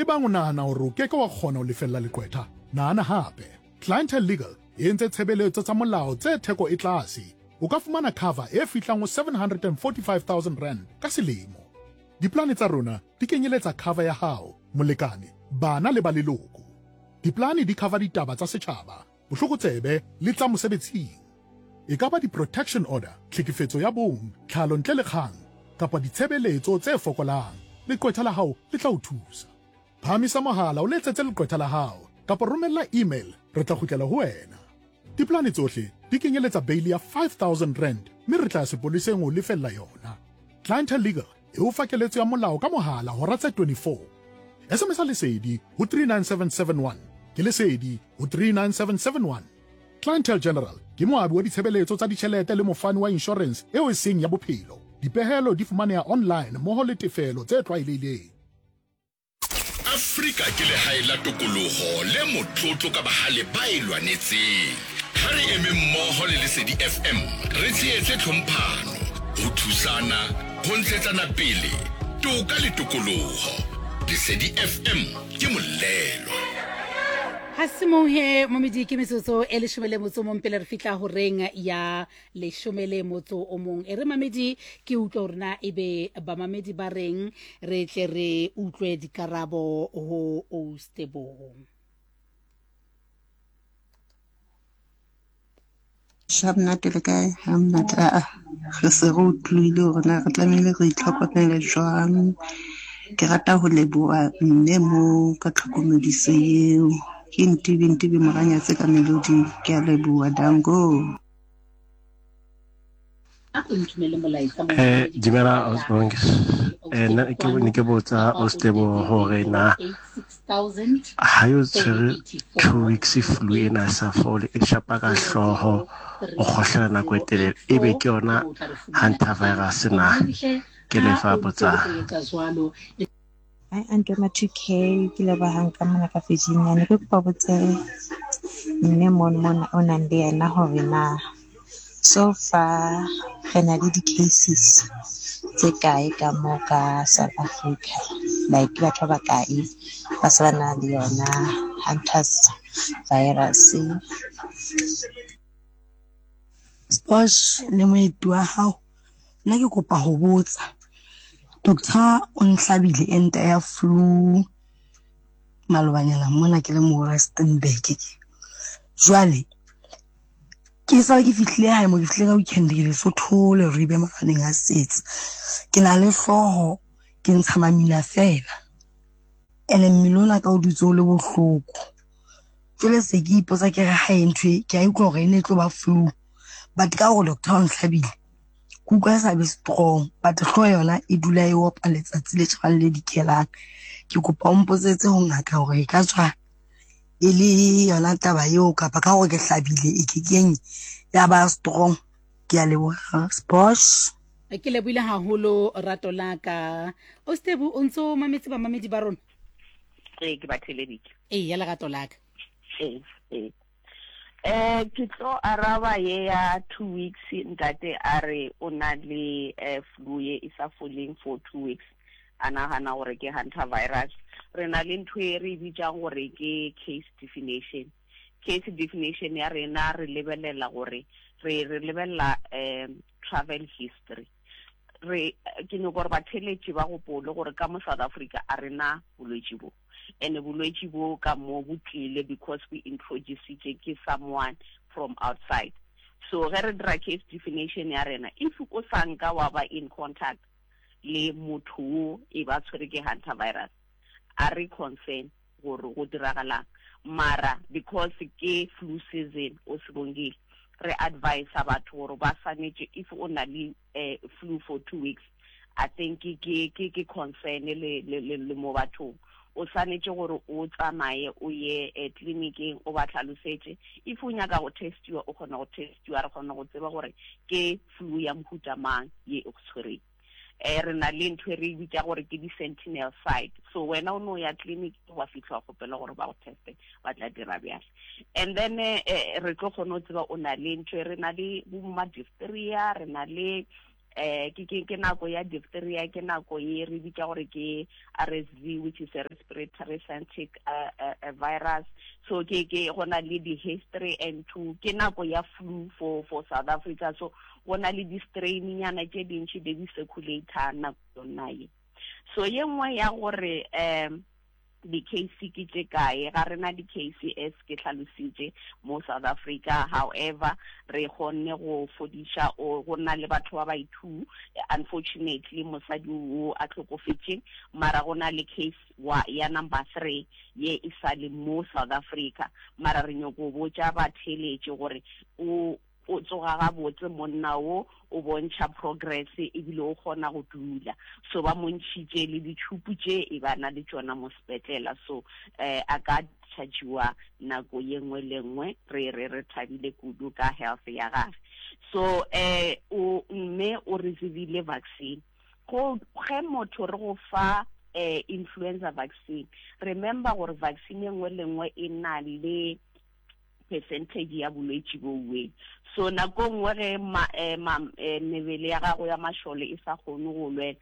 Ebang o nahana hore o ke ke wa kgona ho lefella leqwetha, nahana hape. Clientele Legal e entse tshebeletso tsa molao tse theko e tlase. O ka fumana cover e fihlang ho R745 000 ka selemo. Diplane tsa rona di kenyeletsa cover ya hao, molekane, bana le ba leloko. Diplane di cover ditaba tsa setjhaba, bohlokotsebe le tsa mosebetsing. E ka ba di-protection order, tlhekefetso ya bong, tlhalo ntle le kgang, kapa ditshebeletso tse fokolang, leqwetha la hao le tla o thusa. Phahamisa mohala o letsetse leqwetha la hao kapa romella email re tla kgutlela ho wena. Diplane tsohle di kenyeletsa beili ya R5000 mme re tla ya sepoleseng ho lefella yona. Clientele Legal e o fa keletso ya molao ka mohala hora tse 24. SMS-a Lesedi ho 39771. Ke Lesedi ho 39771. Clientele General ke moabi wa ditshebeletso tsa ditjhelete le mofani wa inshorense eo e seng ya bophelo. Dipehelo di fumaneha online mmoho le tefelo tse tlwaelehileng. Afrika ke lehae la tokologo le motlotlo ka bagale ba e lwanetseng. Ha re eme mmoho le Lesedi FM re tshehetse tlhomphano, ho thusana, ho ntshetsana pele, toka le tokoloho. Lesedi FM ke molelwa. Ha se mong he momedi ke metsotso e leshome le motso mong pele re fihla horeng ya leshome le motso o mong. E re mamedi ke utlwe hore na ebe bamamedi ba reng re tle re utlwe dikarabo ho Oustebo. Sha monate le kae? Ha monate aa re se re utlwile hore na re tlamehile re itlhokomele jwang. Ke rata ho leboha mme moo ka tlhokomediso eo. Ke Ntibi Ntibi Moranyatse ka Melodi. Ke a leboha danko. Dumela Osbongs. Nna ke ne ke botsa Ostebo hore na ha yo tshwere 2 weeks flu ena e sa fole e shapa ka hlooho o kgohlela nako e telele ebe ke yona hantavirus na? Ke lefa botsang. Hi Aunty ma 2K ke lebohang ka mona ka Virginia ne ke kopa botse mme mono mona o nang le yena hore na so far re na le di-cases tse kae ka mo ka South Africa like ke batho ba bakae ba se ba na le yona hunters virus. Sposh le moeti wa hao nna ke kopa ho botsa doctor o nhlabile ente ya flu malobanyana mona ke le mo Rustenburg jwale ke sa ke fihlile hae mo ke fihlile ka weekend ke Lesotho le ribe mafaneng a setse ke na le hlooho ke ntsha mamina fela ene mmele ona ka o dutse o le bohloko Jwale se ke ipotsa ke re hae ntho e ke a utlwa hore e ne e tlo ba flu but ka hore doctor o ntlhabile ke utlwa e sa be strong but hlooho yona e dula e opa letsatsi le tjhabang le dikelang. Ke kopa o mpotsetse ho ngaka hore e ka tswa e le yona taba eo kapa ka hore ke hlabile e ke keng ya ba strong. Ke a leboha Sposh. Ke lebohile haholo rato la ka. Ostebu o ntso mametse bamamedi ba rona? Ee, ke ba theleditše. Ee, ya lerato la ka. Ee, ee. Eh, ke tlo araba ye ya 2 weeks ntate a re o na le flu ye e sa foleng for 2 weeks a nagana gore ke hantavirus. Re na le ntho e re e bitsang gore ke case definition. Case definition ya rena re lebelela gore re lebelela travel history. Re ke nyoko gore batheletši ba gopole gore ka mo South Africa a rena bolwetši bo and bolwetši bo ka mo bo tlile because we introducitše ke someone from outside. So ge re dira case definition ya rena, if o sa nka wa ba in contact le motho wo e ba tshwere ke hantavirus, a re concern gore go diragalang. Mara because ke flu season o se bongile, re advisa batho gore ba swanetše if o na le flu for 2 weeks, I think ke concern le mo bathong o swanetše gore o tsamaye o ye tleliniking o ba tlhalosetše. If o nyaka go testiwa, o kgona go testiwa, re kgona go tseba gore ke flu ya mohuta mang ye e go tshwereng. Re na le ntho e re e bitsa gore ke di-sentinel site, so wena o no ya clinic wa fitlha wa kgopela gore ba go teste, ba tla dira bjale and then re tlo kgona go tseba o na le ntho e. Re na le bo ma diphtheria, re na le Eh ke ke ke nako ya diphtheria, ke nako ye re bitša gore ke RSV, which is a respiratory syncytial uh, uh, uh, virus. So ke ke go na le di history and two ke nako ya flu for for South Africa. So go na le di strain nyana tše dintši di di circulator nako yona ye. So ye nngwe ya gore um di-case ke tše kae, ga re na di-case as ke hlalositše mo South Africa, however re kgonne go fodiša or go na le batho ba bai two, unfortunately mosadi wo a hlokofetše, mara go na le case wa ya number 3 ye e sa le mo South Africa, mara re nyoko botša batheeletši gore o O tsoga gabotse monna wo, o bontšha progress ebile o kgona go dula. So ba mo ntšhitše le ditšhupu tše e ba na le tšona mo sepetlela. So eh a ka dischargiwa nako ye nngwe le nngwe. Re re re thabile kudu ka health ya gage. So eh o mme o receivile vaccine. Go ge motho re go fa eh influenza vaccine, remember gore vaccine e nngwe le nngwe e na le percentage ya bolwetši bowe. So nako nngwe ge ma, eh, ma, eh, mebele ya gago ya mašole e sa kgone go lwela,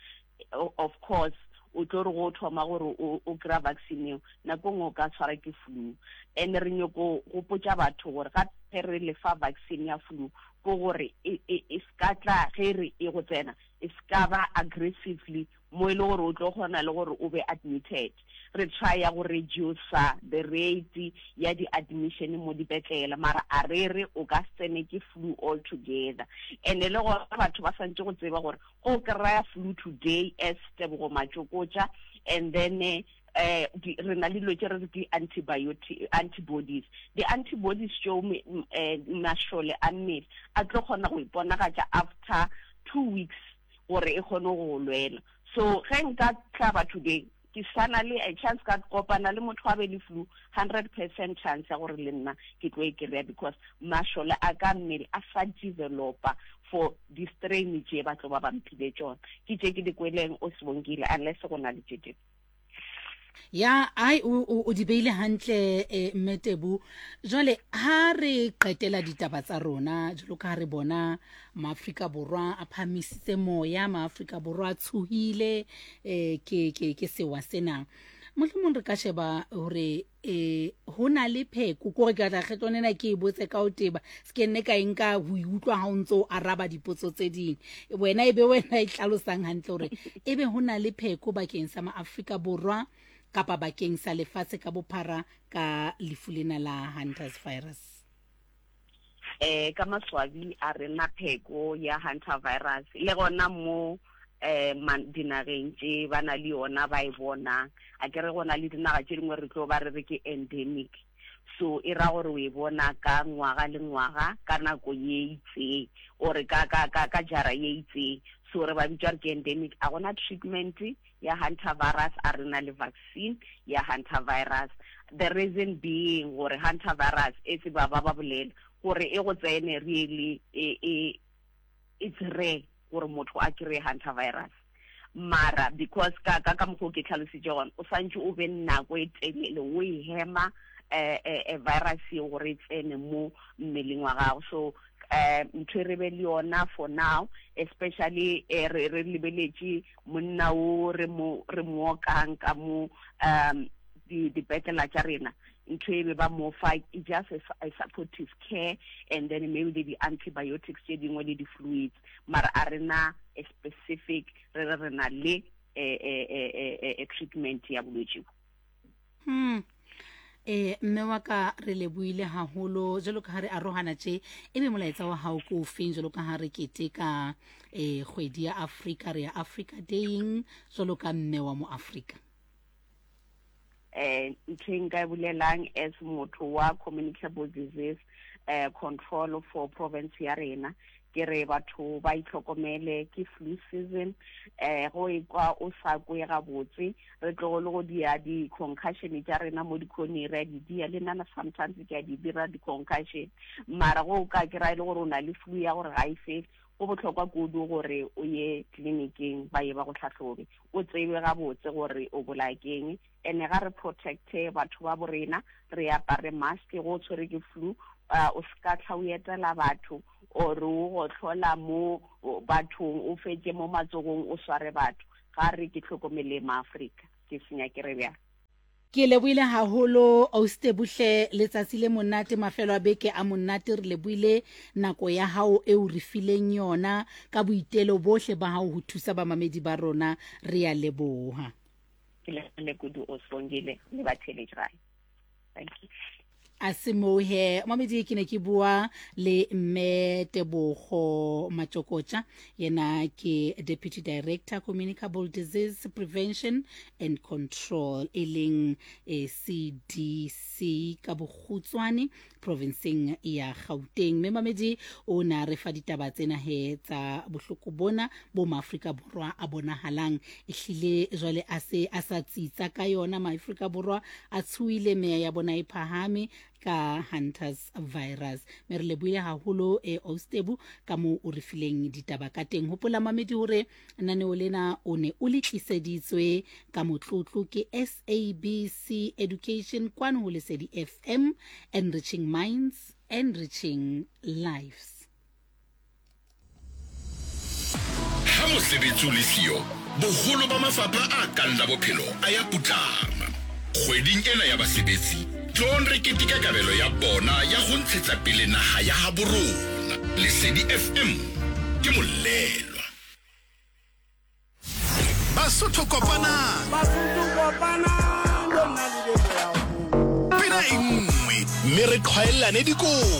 of course o tlo re go thoma gore o, o kry-a vaccine eo, nako nngwe o ka tshwara ke flu. And re nyoko gopotša batho gore gape re le fa vaccine ya flu ke gore e, e, e ska tla ge re e go tsena, e ska ba aggressively mo e le gore o tlo kgona le gore o be admitted. Re trya go reducer the rate ya di admission mo dipetlela, mara a re re o ka se tsene ke flu all together. And le gona batho ba swantše go tseba gore go kry-a flu today as Tebogo Matšokotša and then eh di, re na le dilo tše re re ke antibiotic antibodies. Di-antibodies tšeo eh, mašole a mmele a tlo kgona go iponagatša after 2 weeks gore e kgone go lwela. So ge nka hlaba today, ke sa na le a chance ka kopana le motho a be le flu, 100% chance ya gore le nna ke tlo e kry-a because mašole a ka mmele a sa developa for di-strain tše ba tlo ba ba mphile tšona. Ke tše ke di kweleng o Sibongile, unless go na le tše dingwe. Ya, ai o o di beile hantle eh, mme Tebu. Jwale ha re qetela ditaba tsa rona jwalo ka ha re bona Maafrika Borwa a phamisitse moya, Maafrika Borwa a tshohile eh, ke ke ke sewa sena. Mohlomong re ka sheba hore eh ho na le pheko kore ke tla kgetlong ena ke e botse ka o teba se ke nne ka e nka ho e utlwa ha o ntse o araba dipotso tse ding wena e be wena e hlalosang hantle hore e be ho na le pheko bakeng sa maAfrika Borwa kapa bakeng sa lefatshe ka bophara ka lefu lena la Hunters virus. Eh ka maswabi a re na pheko ya Hunter virus le gona mo eh dinageng tše ba na le yona ba e bonang. A ke re go na le dinaga tše dingwe re tlo ba re re ke endemic, so e ra gore o e bona ka ngwaga le ngwaga ka nako ye itseng or ka ka ka ka jara ye itseng, so re ba bitša re ke endemic. A gona treatment ya Hunter virus, a re na le vaccine ya Hunter virus. The reason being gore Hunter virus e tseba ba ba bolela gore e go tsene really e e it's rare gore motho a kry-e Hunter virus, mara because ka ka ka mokgwa o ke tlhalositše gona, o santše o be nako e telele o e hema eh, eh, eh, virus eo gore e tsene mo mmeleng wa gago. So eh ntho e re be le yona for now, especially eh, re re lebeletše monna o re mo re mo okang ka mo um dipetlela tša rena, ntho e be ba mo fa e just a supportive care and then maybe le di-antibiotics tše dingwe le di-fluids, mara a re na a specific re re re na le a treatment ya bolwetši bo. E mme wa ka re leboile haholo jwalo ka ha re arohana tje, ebe molaetsa wa hao ke ofeng jwalo ka ha re keteka e kgwedi ya Afrika, re ya Africa Daying jwalo ka mme wa mo Afrika? Eh ntho e nka e bolelang as motho wa communicable disease eh control for province ya rena, ke re batho ba itlhokomele, ke flu season. Eh go ekwa o sa kwe gabotse, re tlogole go dia di-concussion tša rena mo dikhoneng, re a di dia le nna sometimes ke a di dira di-concussion, mara go ka kry-a e le gore o na le flu ya gore ga e fele, go bohlokwa kudu gore o ye tleliniking ba ye ba go hlahlobe, o tsebe gabotse gore o bolaya keng. Ene ga re protecte batho ba bo rena, re apare mask go o tshwere ke flu, o se ka tlha o etela batho, Or o gohlola mo bathong, o fetše mo matsogong o sware batho. Ga re ke hlokomeleng Maafrika. Ke senya ke re bjang. Ke lebohile haholo Austebuhle, letsatsi le monate, mafelo a beke a monate. Re lebohile nako ya hao e o re fileng yona ka boitelo bohle ba hao ho thusa bamamedi ba rona. Re ya leboha. Ke lebohile kudu Osbongile le batheeletši gae. Thank you. A se moo he mamedi, ke ne ke bua le mme Tebogo Matšokotša, yena ke Deputy Director Communicable Disease Prevention and Control, e leng eh, CDC ka bokgutswane provinseng ya Gauteng. Mme mamedi o ne a re fa ditaba tsena he tsa bohloko bona bo Maafrika Borwa a bonagalang ehlile jwale a se a sa tsitsa ka yona. Maafrika Borwa a tshohile, meya ya bona e phahame ka Hunters virus. Me re lebohile haholo e Austebu ka moo o re fileng ditaba ka teng. Hopola mamedi hore naneo lena o ne o le tliseditswe ka motlotlo ke SABC Education kwano ho Lesedi FM, enriching minds, enriching lives. Ha mosebetsi o le siyo, boholo ba mafapha a kang la bophelo a ya putlama. Kgweding ena ya basebetsi, tloong re keteke kabelo ya bona ya ho ntshetsa pele naha ya habo rona. Lesedi FM ke molelwa. Basotho kopanang. Basotho kopanang lona le be Pina e nngwe mme re qhwaellane dikobo.